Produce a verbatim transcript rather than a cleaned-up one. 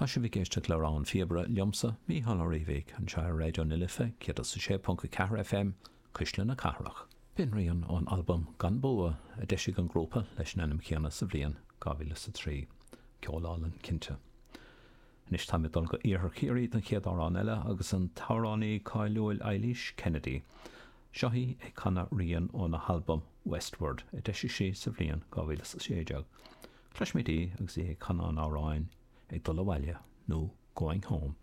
Tá sibh ag éisteacht le Rogha an Phíobaire liomsa Mícheál Ó Riabhaigh anseo ar Raidió na Life céad a sé ponc ceathair FM Cuisle na Cathrach. B'in rian ón albam Gan Bua a d'eisigh an grúpa leis an ainm céanna sa bhliain dhá mhíle a trí. Ceol álainn cinnte. Anois tá dul go iarthar Chiarraí don chéad amhrán eile agus an t-amhránaí cáiliúil Eilís Kennedy. Seo í ag canadh rian óna halbam Westward a d'eisigh sí sa bhliain dhá mhíle a sé déag. Cloisfimid í agus í ag canadh an amhráin ag dul abhaile nó Going Home.